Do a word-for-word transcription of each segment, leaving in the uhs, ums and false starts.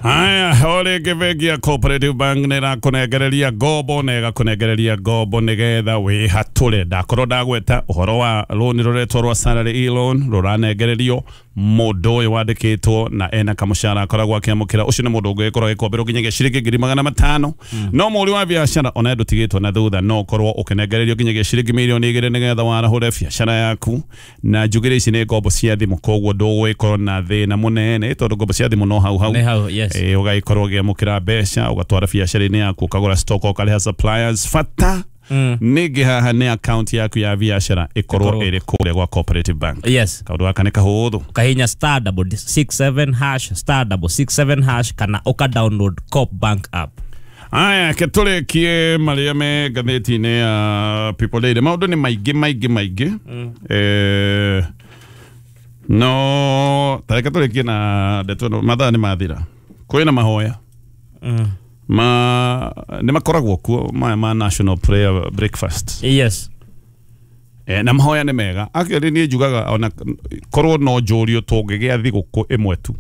Haya, o rĩngĩ bengi ya Cooperative Bank nĩ ĩrakũnengereria ngombo na ĩgakũnengereria ngombo nĩgetha wĩhatũre. Ndakorwo ndagweta ũhoro wa rũni rũretwo rwa salary e-loan rũranengererio mũndũ ũyũ wandĩkĩtwo na ena kamũcara akoragwo akĩamũkĩra. Ũcio nĩ mũndũ ũngĩgĩkorwo agĩkomberwo nginyagia ciringi ngiri magana matano. No mũhũri wa biacara ona ndũtigĩtwo na thutha, no ũkorwo ũkĩnengererio nginyagia ciringi mirioni igĩrĩ nĩgetha warahũre biacara yaku. Na njugĩre ici nĩ ngombo cia thimũ, koguo ndũgũgĩkorwo na thĩna mũnene tondũ ngombo cia thimũ no hau hau. Nĩ hau, yes. Eh, ũgagĩkorwo ũkĩamũkĩra mbeca ũgatwara biacara-inĩ yaku, ũkagũra stock, ũkarĩha suppliers. Bata Mm. ningĩ haha nĩ account yaku ya biacara ĩkorwo Ĩkorwo. ĩrĩ kũrĩa gwa Cooperative Bank. Yes. Kaũndũ gaka nĩ kahũthũ. Ukahinya star double six seven hash star double six seven hash kana uka download Coop Bank app. Aya, ke tũrĩkie marĩa me ngathĩti-inĩ ya People Daily. Maũndũ nĩ maingĩ maingĩ maingĩ. Eh, no tareke tũrĩkie na ndeto ĩno, mathaa nĩ mathira. Kwĩna mahoya Mm. ma nĩ makoragwo kuo maya ma National Prayer Breakfast. Yes. Eh, na mahoya nĩ mega. Actually niĩ njugaga ona korwo no njũrio tũngĩgĩa thigũkũ ĩmwe tu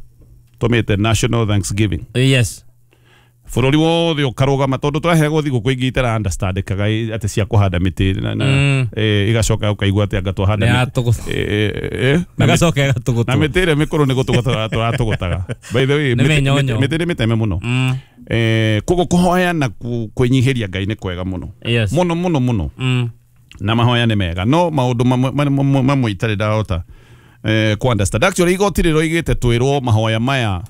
tũmĩte National Thanksgiving, Yes. bũrũri wothe ũkarũgama tondũ tũraheagwo thigũkũ ingĩ itara understandĩkaga atĩ cia kũhanda mĩtĩ na, na, Mm. eh, igacoka ũkaigua atĩ anga twahanda Nĩ mĩtĩ. yatũgũ- Eh, eh, eh, na mĩtĩ- Ĩgacoka ĩgatũgũtwo. na mĩtĩ ĩrĩa mĩkũrũ nĩ gũtũgũta tũratũgũtaga. By the way, Nĩ mĩtĩ- mĩnyonyo. mĩtĩ mĩtĩ nĩ mĩteme mũno. Mm. Eh, koguo kũhoya na ku- kwĩnyihĩria Ngai nĩ kwega mũno Yes. mũno mũno mũno, Mm. na mahoya nĩ mega, no maũndũ mamwe mamwe- mamwe itarĩ ndahota eh, ku understand. Actually igoti rĩroigĩte twĩrwo mahoya maya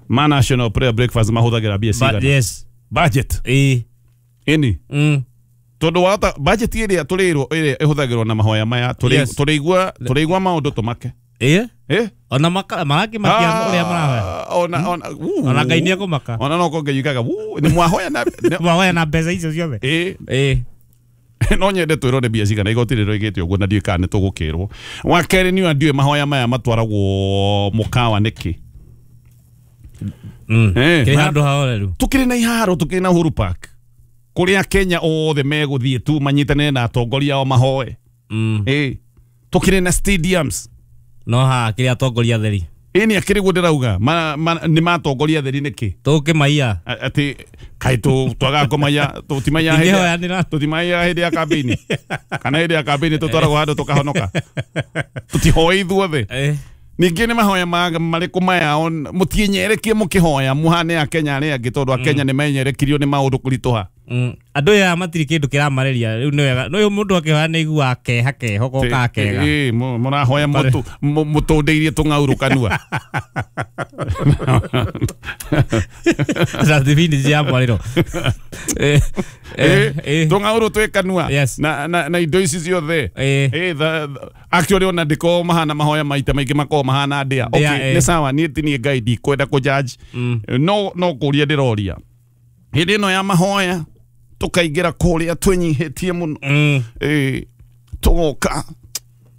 ma National Prayer Breakfast mahũthagĩra mbia But cigana. yes. Budget Ĩ. ĩni Mm. tondũ wahota budget ĩrĩa tũrĩrwo ĩrĩa ĩhũthagĩrwo na mahoya maya tũrĩ- Yes. tũrĩigua tũrĩigua maũndũ tũmake. Ĩ. Eh? Ona maka marakĩmakia ũrĩa marahoya. Ona ona uu. Ona Ngai nĩekũmaka. Ona no konge yugaga "Uu, nĩ mwahoya na nĩ- Mwahoya na mbeca icio ciothe. ĩ Ĩ. no nyende twĩrwo nĩ mbia cigana igoti rĩroigĩte ũguo na ndiũĩ kana nĩ tũgũkĩrwo. Wa kerĩ nĩ ndiũĩ mahoya maya matwaragwo mũkawa nĩkĩ. Mm. Eh, Kĩrĩ ma- handũ hahoreru. Tukĩrĩ na iharo, tukĩrĩ na Uhuru Park kũrĩa Kenya othe megũthiĩ tu manyitanĩre na atongoria ao mahoe. Mm. Ĩ tukĩrĩ na stadiums. No haha kĩrĩ atongoria atheri. Ĩ nĩ akĩrĩ guo ndĩrauga ma, ma, nĩ matongoria atheri nĩkĩ? Tũkĩmaiya. A- atĩ kaĩ tũ- twagaga kũmaiya tũtimaiya hĩndĩ ya- Ingĩhoyanĩra. tũtimaiya hĩndĩ ya kambĩini kana hĩndĩ ya kambĩini tũtwaragwo handũ tũkahonoka, tũtihoe ithuothe. Ĩ. Ningĩ nĩ mahoya ma- marĩkũ maya on- mũtienyerekie mũkĩhoya mũhane akenya arĩa angĩ tondũ akenya nĩ menyerekirio nĩ maũndũ kũritũha. Mm. Andũ aya matirĩ kĩndũ kĩramarĩria rĩu nĩ wega no mũndũ akĩhoya nĩ aiguaga keha keho gokaga kega. Ĩ, mũ- mũrahoya mũtũ- mũ- mũtũndĩirie tũng'aurũ kanua. Na thibindi cia mwarĩro. Ĩ, ĩ, ĩ. Tũng'aurũ twĩ kanua Yes. na, na, na indo ici ciothe. Ĩ. Ĩ, tha- tha- actually ona ndĩkoragwo mahana mahoya maita maingĩ makoragwo mahana ndĩa. Ndĩa, Okay, ĩ. nĩ sawa, niĩ ti niĩ Ngai ndikwenda kũjudge, Mm. no no kũria ndĩroria hĩndĩ ĩno ya mahoya tũkaingĩra kũrĩa twĩnyihĩtie mũno. Mm. Ĩ, tũgoka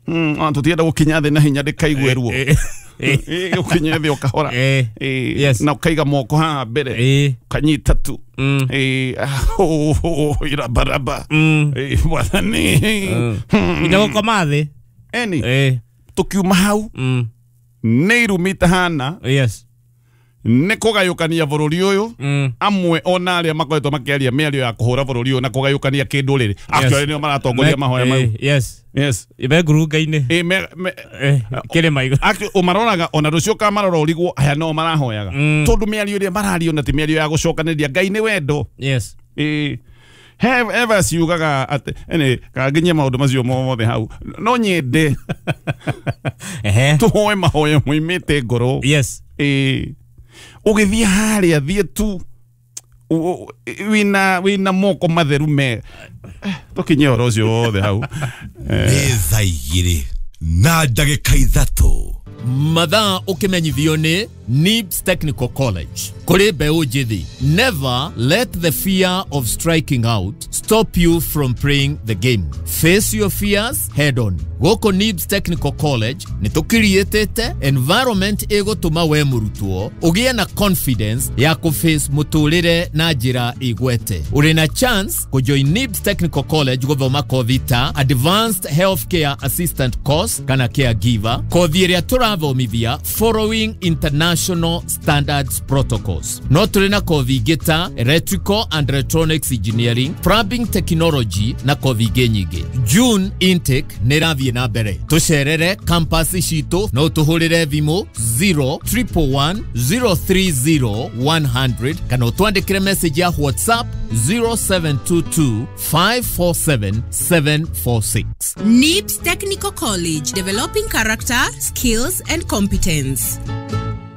Mm, ona tũtienda gũkinya thĩ na hinya ndĩkaigue ruo. Ĩ, ĩ. Ĩ, ũkinye thĩ ũkahora. Ĩ. Ĩ, Yes. na ũkaiga moko haha mbere Ĩ. ũkanyita tu. Mm. Ĩ, ah, oh, oh, irabaraba. Mm. Ĩ, mwathani. Mm. Nginya gũkoma thĩ. Eni Ĩ. tũkiuma hau Mm. nĩ irumi itahana Yes. nĩ kũgayũkania bũrũri ũyũ. Mm. Amwe ona arĩa makoretwo makĩaria mĩario ya kũhũra bũrũri ũyũ na kũgayũkania kĩndũrĩrĩ actually nĩo maratongoria Me- mahoya mau. ĩ, Yes. Yes. Me ngurunga-inĩ. Ĩ, me- me- Ĩ, kĩrĩma igũrũ. Actually, ũmaroraga ona rũciũ kamarora ũrigwo aya no marahoyaga Mm. tondũ mĩario ĩrĩa mararia ona ti mĩario ya gũcokanĩrĩria. Ngai nĩ wendo. Yes. Ĩ, he eva ciugaga atĩ ene kanginyie maũndũ macio mothe hau no nyende Ehe. tũhoe mahoya moimĩte ngoro. Yes. Ĩ, ũgĩthiĩ harĩa thiĩ tu u- u- wĩna wĩna moko matheru me Eh, tũkinye ũhoro ũcio wothe hau. Nĩ thaa igĩrĩ na ndagĩka ithatũ. Mathaa ũkĩmenyithio nĩ Nibs Technical College kũrĩ mbeũ njĩthĩ. Never let the fear of striking out stop you from playing the game. Face your fears head on. Gũkũ Nibs Technical College nĩ tũkiriĩtĩte environment ĩgũtũma we mũrutwo ũgĩe na confidence ya kũface mũtũrĩre na njĩra igwete. Ũrĩ na chance kũjoin Nibs Technical College gũthoma kothi ta Advanced Healthcare Assistant Course kana Caregiver, kothi ĩrĩa tũra Tũrathomithia following international standards protocols. No tũrĩ na kothi ingĩ ta electrical and electronics engineering, plumbing technology na kothi ingĩ nyingĩ. June intake nĩ ĩrathiĩ na mbere. Tũcerere campus citũ, no tũhũrĩre thimũ zero triple one zero three zero one hundred kana ũtwandĩkĩre message ya WhatsApp zero seven two two five four seven seven four six. N I B S Technical College, developing character, skills and competence.